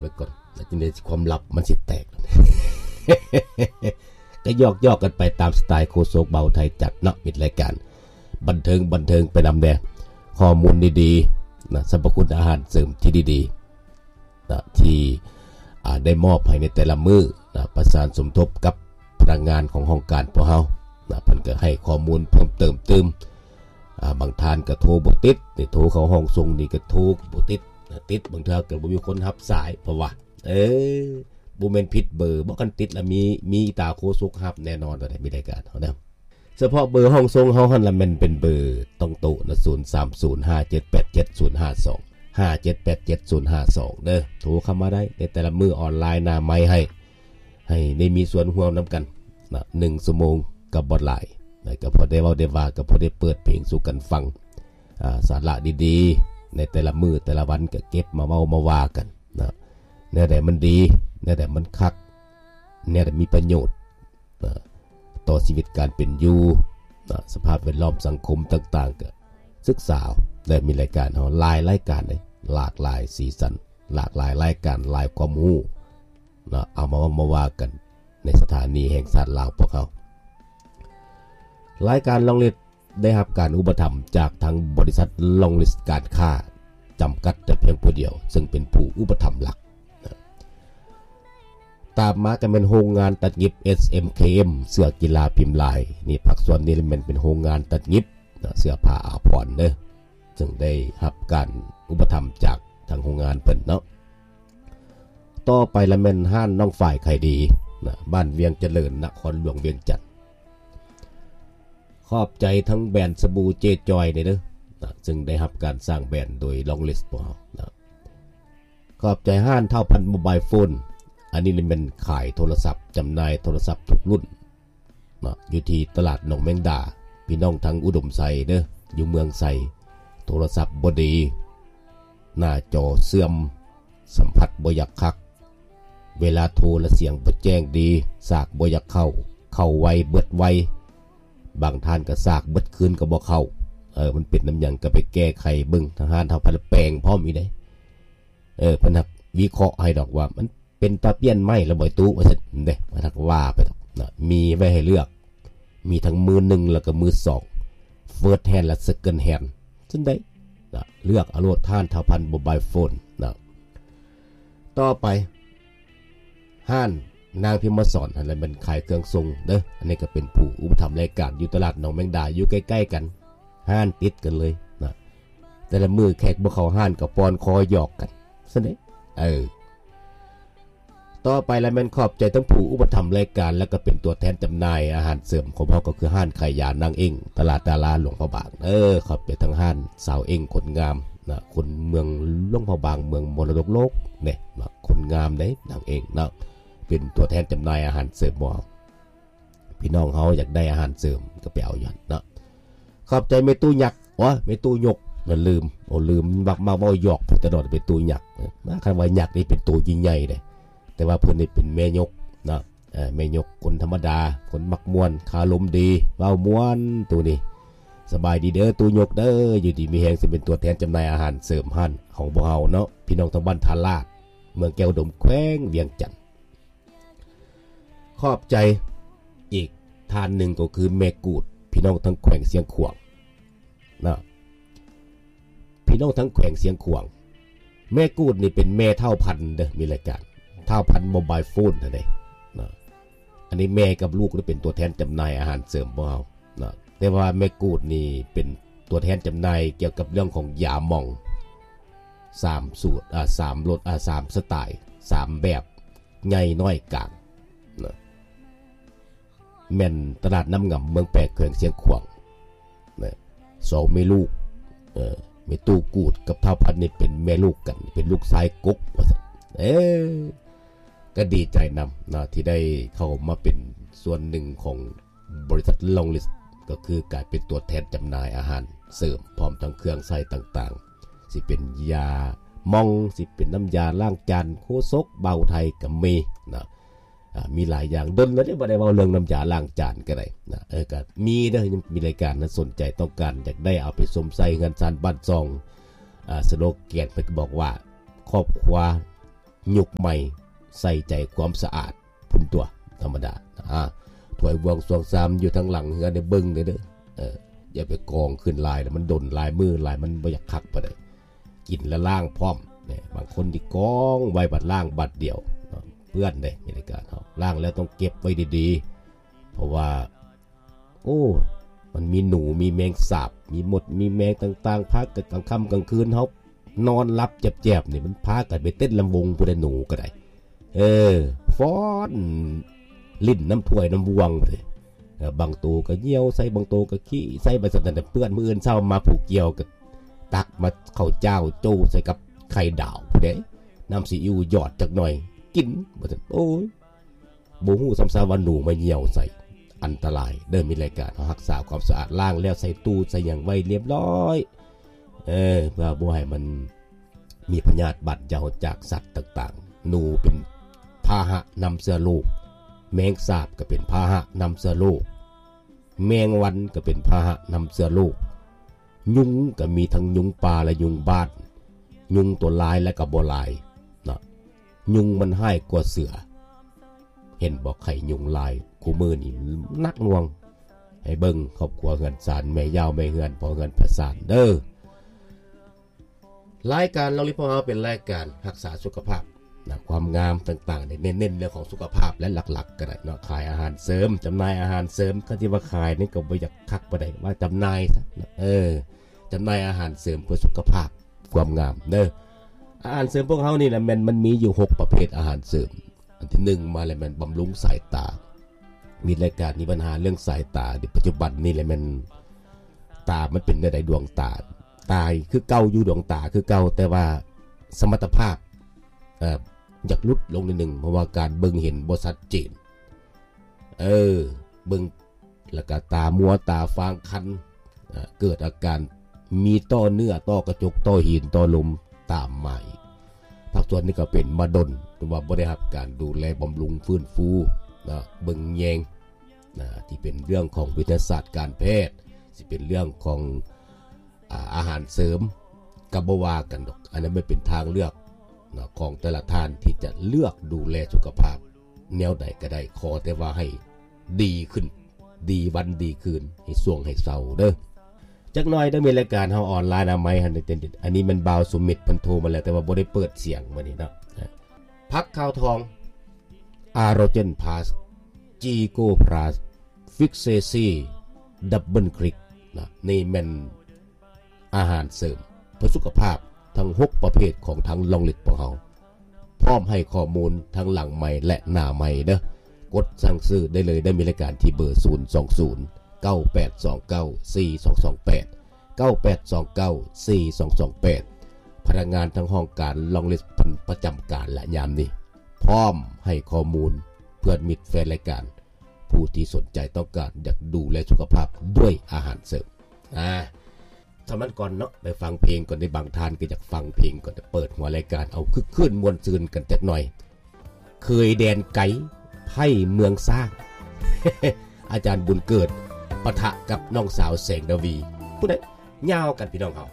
ໄວ້ກ່ອນ ແລ້ວຈັ່ງໃດຄວາມລັບມັນຊິແຕກ. ກໍຫຍອກໆກັນໄປຕາມສະໄຕໂຄສົກເບົາໄທຈັດເນາະ ມິດລາຍການ ບັນເທີງ ບັນເທີງໄປນຳແດ່ ຂໍ້ມູນດີໆນະ ສັບພະຄຸນອາຫານເສີມທີ່ດີໆນະ ທີ່ ອາ ໄດ້ມອບໃຫ້ໃນແຕ່ລະມື້ນະ ປະສານສົມທົບກັບພະນັກງານຂອງຫ້ອງການພວກເຮົານະ ເພິ່ນກໍໃຫ້ຂໍ້ມູນເພີ່ມເຕີມຕື່ມ. ອາ ບາງທ່ານກໍໂທບໍ່ຕິດ ນີ້ໂທເຂົ້າຫ້ອງສົ່ງນີ້ກໍໂທບໍ່ຕິດນະ ຕິດບາງເທື່ອກໍບໍ່ມີຄົນຮັບສາຍ ເພາະວ່າ ເອີ ບໍ່ແມ່ນຜິດເບີບໍ ຄັນຕິດລະມີ ມີຕາໂຄສົກຮັບແນ່ນອນ ວ່າໄດ້ມີລາຍການເຮົານະ. ສະເພາະເບີຫ້ອງສົ່ງເຮົາຫັ້ນລະແມ່ນເປັນເບີຕ້ອງໂຕະນະ ສູນສາມສູນຫ້າເຈັດແປດເຈັດສູນຫ້າສອງ ຫ້າເຈັດແປດເຈັດສູນຫ້າສອງເດີ ໂທເຂົ້າມາໄດ້ໃນແຕ່ລະມື້ ອອນລາຍໜ້າໄມໃຫ້ ໃຫ້ໄດ້ມີສ່ວນຮ່ວມນຳກັນນະ ໜຶ່ງຊົ່ວໂມງກໍບໍ່ຫຼາຍນະ ກໍພໍໄດ້ເວົ້າໄດ້ວ່າ ກໍພໍໄດ້ເປີດເພງສູ່ກັນຟັງ ອາ ສາລະດີໆໃນແຕ່ລະມື້ແຕ່ລະວັນ ກໍເກັບມາເວົ້າມາວ່າກັນນະ ແນວໃດມັນດີ ແນວໃດມັນຄັກ ແນວໃດມີປະໂຫຍດນະ ຕໍ່ຊີວິດການເປັນຢູ່ນະ ສະພາບແວດລ້ອມສັງຄົມຕ່າງໆ ກໍສຶກສາ ແລະ ມີລາຍການເຮົາຫຼາຍລາຍການເດ້ ຫຼາກຫຼາຍສີສັນ ຫຼາກຫຼາຍລາຍການ ຫຼາຍຄວາມຮູ້ນະ ເອົາມາເວົ້າມາວ່າກັນໃນສະຖານີແຫ່ງຊາດລາວພວກເຮົາ. ລາຍການລອງລິດ ໄດ້ຮັບການອຸປະຖຳຈາກທາງບໍລິສັດລອງລິດການຄ້າຈຳກັດແຕ່ພຽງຜູ້ດຽວ ເຊິ່ງເປັນຜູ້ອຸປະຖຳຫຼັກນະ. ຕາມມາກໍແມ່ນໂຮງງານຕັດຫຍິບ ເອສເອັມເຄເອັມ ເສື້ອກິລາພິມລາຍ ນີ້ພາກສ່ວນນີ້ແມ່ນເປັນໂຮງງານຕັດຫຍິບນະ ເສື້ອຜ້າອາພອນເດີ ເຊິ່ງໄດ້ຮັບການອຸປະຖຳຈາກທາງໂຮງງານເພິ່ນເນາະ. ຕໍ່ໄປລະແມ່ນຮ້ານນ້ອງຝ້າຍຂາຍດີນະ ບ້ານວຽງຈະເລີນ ນະຄອນຫຼວງວຽງຈັນ. ຂອບໃຈທັງແບຣນສະບູເຈຈອຍນີ້ເດີນະ ເຊິ່ງໄດ້ຮັບການສ້າງແບຣນໂດຍລອງລິດພວກເຮົານະ. ຂອບໃຈຮ້ານທ້າວພັນໂມບາຍໂຟນ ອັນນີ້ນີ້ແມ່ນຂາຍໂທລະສັບ ຈຳໜ່າຍໂທລະສັບທຸກລຸ້ນເນາະ ຢູ່ທີ່ຕະຫຼາດໜອງແມງດາ. ພີ່ນ້ອງທາງອຸດົມໄຊເດີ ຢູ່ເມືອງໄຊ ໂທລະສັບບໍ່ດີ ໜ້າຈໍເສື່ອມ ສຳຜັດບໍ່ຢາກຄັກ ເວລາໂທລະສຽງບໍ່ແຈ້ງດີ ສາກບໍ່ຢາກເຂົ້າ ເຂົ້າໄວເບິດໄວ ບາງທ່ານກໍສາກເບິດຄືນກໍບໍ່ເຂົ້າ. ເອີ ມັນເປັນນຳຫຍັງກໍໄປແກ້ໄຂເບິ່ງ ທາງຮ້ານທ້າວພັນແປງພ້ອມອີກເດ້. ເອີ ເພິ່ນຮັກວິເຄາະໃຫ້ດອກວ່າ ມັນເປັນຕາປ່ຽນໃໝ່ລະບໍ່ຕູ້ ວ່າຊັ້ນເດ້. ເພິ່ນຮັກວ່າໄປດອກນະ ມີໄວ້ໃຫ້ເລືອກ ມີທັງມືໜຶ່ງ ແລ້ວກໍມືສອງ ເຟີດແຮນ ແລະ ເຊັກເກີນແຮນ ຊັ້ນໃດນະ ເລືອກເອົາໂລດ ຮ້ານທ້າວພັນໂມບາຍໂຟນນະ. ຕໍ່ໄປ ຮ້ານນາງພິມມະສອນຫັ້ນລະແມ່ນຂາຍເຄື່ອງສົ່ງເດີ ອັນນີ້ກໍເປັນຜູ້ອຸປະຖຳລາຍການ ຢູ່ຕະຫຼາດໜອງແມງດາ ຢູ່ໃກ້ໆກັນ ຮ້ານຕິດກັນເລີຍນະ. ແຕ່ລະມື້ແຂກບໍ່ເຂົ້າຮ້ານກໍປ່ອນຄໍຫຍອກກັນຊັ້ນເດ້. ເອີ ຕໍ່ໄປລະແມ່ນຂອບໃຈທັງຜູ້ອຸປະຖຳລາຍການ ແລ້ວກໍເປັນຕົວແທນຈຳໜ່າຍອາຫານເສີມຂອງເຮົາ ກໍຄືຮ້ານຂາຍຢານາງເອັ້ງ ຕະຫຼາດດາລາຫຼວງພະບາງເດີ. ຂອບໃຈທັງຮ້ານສາວເອັ້ງຄົນງາມນະ ຄົນເມືອງຫຼວງພະບາງ ເມືອງມໍລະດົກໂລກເດ້ນະ ຄົນງາມເດ້ນາງເອັ້ງເນາະ. ເປັນຕົວແທນຈຳໜ່າຍອາຫານເສີມຂອງເຮົາ ພີ່ນ້ອງເຮົາຢາກໄດ້ອາຫານເສີມກໍໄປເອົາຢູ່ຫັ້ນເນາະ. ຂອບໃຈແມ່ຕູ້ຍັກ ໂອ້ຍ ແມ່ຕູ້ຍົກ ນະ ລືມ ໂອ້ ລືມ ມັກ ມັກເວົ້າຫຍອກໄປຕະຫຼອດ ແມ່ຕູ້ຍັກ ນະ. ຄັນວ່າຍັກນີ້ເປັນໂຕໃຫຍ່ໆເດ້ ແຕ່ວ່າເພິ່ນນີ້ເປັນແມ່ຍົກເນາະ. ເອີ ແມ່ຍົກຄົນທຳມະດາ ຄົນມັກມ່ວນ ຄາລົມດີ ເວົ້າມ່ວນ ຕູ້ນີ້. ສະບາຍດີເດີຕູ້ຍົກເດີ ຢູ່ດີມີແຮງ ເຊິ່ງເປັນຕົວແທນຈຳໜ່າຍອາຫານເສີມຮ້ານຂອງພວກເຮົາເນາະ ພີ່ນ້ອງທາງບ້ານທ່າລາດ ເມືອງແກ້ວອຸດົມ ແຂວງວຽງຈັນ. ຂອບໃຈອີກທ່ານໜຶ່ງກໍຄືແມ່ກູດ ພີ່ນ້ອງທາງແຂວງຊຽງຂວາງນະ ພີ່ນ້ອງທາງແຂວງຊຽງຂວາງ. ແມ່ກູດນີ້ເປັນແມ່ທ້າວພັນເດີ ມີລາຍການທ້າວພັນໂມບາຍໂຟນຫັ້ນເດ້ນະ. ອັນນີ້ແມ່ກັບລູກໄດ້ເປັນຕົວແທນຈຳໜ່າຍອາຫານເສີມພວກເຮົານະ ແຕ່ວ່າແມ່ກູດນີ້ເປັນຕົວແທນຈຳໜ່າຍກ່ຽວກັບເລື່ອງຂອງຢາໝອງ ສາມສູດ ອາ ສາມລົດ ອາ ສາມສະໄຕ ສາມແບບ ໃຫຍ່ ນ້ອຍ ກາງນະ ແມ່ນຕະຫຼາດນ້ຳງຳ ເມືອງແປກ ແຂວງຊຽງຂວາງນະ. ສອງແມ່ລູກ ເອີ ແມ່ຕູ້ກູດກັບທ້າວພັນນີ້ເປັນແມ່ລູກກັນ ເປັນລູກຊາຍກົກວ່າຊັ້ນ. ເອີ ກໍດີໃຈນຳນະ ທີ່ໄດ້ເຂົ້າມາເປັນສ່ວນໜຶ່ງຂອງ ບໍລິສັດລອງລິດ ກໍຄືການເປັນຕົວແທນຈຳໜ່າຍອາຫານເສີມ ພ້ອມທັງເຄື່ອງໃຊ້ຕ່າງໆ ຊິເປັນຢາໝອງ ຊິເປັນນ້ຳຢາລ້າງຈານ ໂຄສົກເບົາໄທກໍມີນະ. ອາ ມີຫຼາຍຢ່າງ ດົນແລ້ວເດ້ບໍ່ໄດ້ເວົ້າເລື່ອງນ້ຳຢາລ້າງຈານກໍໄດ້ນະ. ເອີ ກໍມີເດີ ມີລາຍການນະ ສົນໃຈຕ້ອງການຢາກໄດ້ເອົາໄປຊົມໃຊ້ເຮືອນຊານບ້ານຊ່ອງ. ອາ ສະໂລແກນເພິ່ນກໍບອກວ່າ ຄອບຄົວ ຍຸກໃໝ່ ໃສ່ໃຈຄວາມສະອາດພຸ້ນຕົວະ ທຳມະດາ. ອາ ຖ້ວຍບ່ວງຊວງຊາມຢູ່ທາງຫຼັງເຮືອນນີ້ເບິ່ງແດ່ເດີ. ເອີ ຢ່າໄປກອງຂຶ້ນຫຼາຍ ແລ້ວມັນດົນຫຼາຍມື້ຫຼາຍ ມັນບໍ່ຢາກຄັກປານໃດ. ກິນແລ້ວລ້າງພ້ອມ. ແນ່ ບາງຄົນທີ່ກອງໄວ້ບັດລ້າງບັດດຽວເນາະ ເປື້ອນເດ້. ມີລາຍການເຮົາ ລ້າງແລ້ວຕ້ອງເກັບໄວ້ດີໆ ເພາະວ່າ ໂອ້ ມັນມີໜູ ມີແມງສາບ ມີມົດ ມີແມງຕ່າງໆ ພາກັນກາງຄ່ຳກາງຄືນ ເຮົານອນຫຼັບແຈບໆ ນີ້ ມັນພາກັນໄປເຕັ້ນລຳວົງພຸ້ນແຫຼະ ໜູກໍໄດ້. ເອີ ຟ້ອນຫຼິ້ນນຳຖ້ວຍນຳບ່ວງພຸ້ນເດ້. ເອີ ບາງໂຕກໍຍ່ຽວໃສ່ ບາງໂຕກໍຂີ້ໃສ່ ໄປຊັ້ນນະ ເປື້ອນ. ມື້ອື່ນເຊົ້າມາຜູ້ກ່ຽວກໍຕັກມາເຂົ້າຈ້າວໂຈ້ໃສ່ກັບໄຂ່ດາວພຸ້ນເດ້ ນ້ຳຊີອິ້ວຢອດຈັກໜ່ອຍ ກິນ ວ່າຊັ້ນ. ໂອ້ຍ ບໍ່ຮູ້ຊ້ຳຊາວ່າໜູມາຍ່ຽວໃສ່. ອັນຕະລາຍເດີ. ມີລາຍການເຮົາຮັກສາຄວາມສະອາດ ລ້າງແລ້ວໃສ່ຕູ້ໃສ່ຫຍັງໄວ້ລຽບຮ້ອຍ ເອີ ເພື່ອບໍ່ໃຫ້ມັນມີພະຍາດບາດເຍົາຈາກສັດຕ່າງໆ. ໜູເປັນພາຫະນຳເຊື້ອໂລກ, ແມງສາບກໍເປັນພາຫະນຳເຊື້ອໂລກ, ແມງວັນກໍເປັນພາຫະນຳເຊື້ອໂລກ. ຍຸງກໍມີທັງຍຸງປ່າ ແລະ ຍຸງບ້ານ. ຍຸງຕົວລາຍ ແລະ ກໍບໍ່ລາຍເນາະ. ຍຸງມັນຮ້າຍກວ່າເສືອ. ເຫັນບໍ່ ໄຂ້ຍຸງລາຍ ຄູ່ມື້ນີ້ໜັກໜ່ວງ. ໃຫ້ເບິ່ງຄອບຄົວເຮືອນຊານ ແມ່ຍາວແມ່ເຮືອນ ພໍ່ເຮືອນພໍ່ຊານເດີ. ລາຍການລອງລິດຂອງເຮົາເປັນລາຍການຮັກສາສຸຂະພາບນະ ຄວາມງາມຕ່າງໆ ເນັ້ນ ເນັ້ນເລື່ອງຂອງສຸຂະພາບ ແລະ ຫຼັກໆ ກໍໄດ້ເນາະ. ຂາຍອາຫານເສີມ ຈຳໜ່າຍອາຫານເສີມ ຄັນຊິວ່າຂາຍນີ້ກໍບໍ່ຢາກຄັກປານໃດ ວ່າຈຳໜ່າຍຊະ. ເອີ ຈຳໜ່າຍອາຫານເສີມເພື່ອສຸຂະພາບ ຄວາມງາມເດີ. ອາຫານເສີມພວກເຮົານີ້ນະ ແມ່ນມັນມີຢູ່ຫົກປະເພດອາຫານເສີມ. ອັນທີໜຶ່ງມາແລ້ວແມ່ນບຳລຸງສາຍຕາ. ມີລາຍການມີບັນຫາເລື່ອງສາຍຕາ ປັດຈຸບັນນີ້ແຫຼະແມ່ນຕາມັນເປັນແນວໃດ ດວງຕາ ຕາຄືເກົ່າຢູ່ ດວງຕາຄືເກົ່າ ແຕ່ວ່າສະມັດຕະພາບ ເອີ ຢາກຫຼຸດລົງໜ້ອຍໜຶ່ງ ເພາະວ່າການເບິ່ງເຫັນບໍ່ຊັດເຈນ. ເອີ ເບິ່ງ ແລ້ວກະຕາມົວ ຕາຟາງຄັນ ເອີ ເກີດອາການມີຕໍ່ເນື້ອ ຕໍ່ກະຈົກ ຕໍ່ຫີນ ຕໍ່ລົມຕາມມາອີກ. ພາກສ່ວນນີ້ກໍເປັນມາດົນ ຫຼືວ່າບໍ່ໄດ້ຮັບການດູແລບຳລຸງຟື້ນຟູເນາະ ເບິ່ງແຍງນະ ທີ່ເປັນເລື່ອງຂອງວິທະຍາສາດການແພດ ຊິເປັນເລື່ອງຂອງ ອາ ອາຫານເສີມ ກໍບໍ່ວ່າກັນດອກ. ອັນນັ້ນມັນເປັນທາງເລືອກເນາະ ຂອງແຕ່ລະທ່ານທີ່ຈະເລືອກດູແລສຸຂະພາບແນວໃດກໍໄດ້ ຂໍແຕ່ວ່າໃຫ້ດີຂຶ້ນ ດີວັນດີຄືນ ໃຫ້ຊ່ວງໃຫ້ເຊົາເດີ. ຈັກໜ້ອຍເດີ ມີລາຍການເຮົາອອນລາຍອະນາໄມຫັ້ນ ອັນນີ້ແມ່ນບ່າວສຸມິດເພິ່ນໂທມາແລ້ວ ແຕ່ວ່າບໍ່ໄດ້ເປີດສຽງມື້ນີ້ເນາະ. ຜັກຂາວທອງ ອາໂຣເຈນພລັສ ຈີໂກພລັສ ຟິກເຊຊີ ດັບເບິນຄລິກນະ ນີ້ແມ່ນ ອາຫານເສີມເພື່ອສຸຂະພາບທັງຫົກປະເພດຂອງທາງລອງລິດຂອງເຮົາ ພ້ອມໃຫ້ຂໍ້ມູນທັງຫຼັງໄມ ແລະ ໜ້າໄມເດີ. ກົດສັ່ງຊື້ໄດ້ເລີຍ ໄດ້ມີລາຍການທີ່ເບີ ສູນສອງສູນ ເກົ້າແປດສອງເກົ້າ ສີ່ສອງສອງແປດ ເກົ້າແປດສອງເກົ້າ ສີ່ສອງສອງແປດ. ພະນັກງານທາງຫ້ອງການລອງລິດເພິ່ນປະຈຳການແລະຍາມນີ້ ພ້ອມໃຫ້ຂໍ້ມູນເພື່ອມິດແຟນລາຍການ ຜູ້ທີ່ສົນໃຈຕ້ອງການຢາກດູແລສຸຂະພາບດ້ວຍອາຫານເສີມ. ອາ ສຳນັ້ນກ່ອນເນາະ ໄປຟັງເພງກ່ອນເດ້. ບາງທ່ານກໍຢາກຟັງເພງກ່ອນ ເປີດຫົວລາຍການເອົາຄຶກຄື້ນມ່ວນຊື່ນກັນຈັກໜ່ອຍ. ເຄີຍແດນໄກ ໃຜເມືອງຊ້າງ ອາຈານບຸນເກີດ ປະທະກັບນ້ອງສາວແສງດາວີ ຜູ້ໃດ ຍາວກັນ ພີ່ນ້ອງເຮົາ.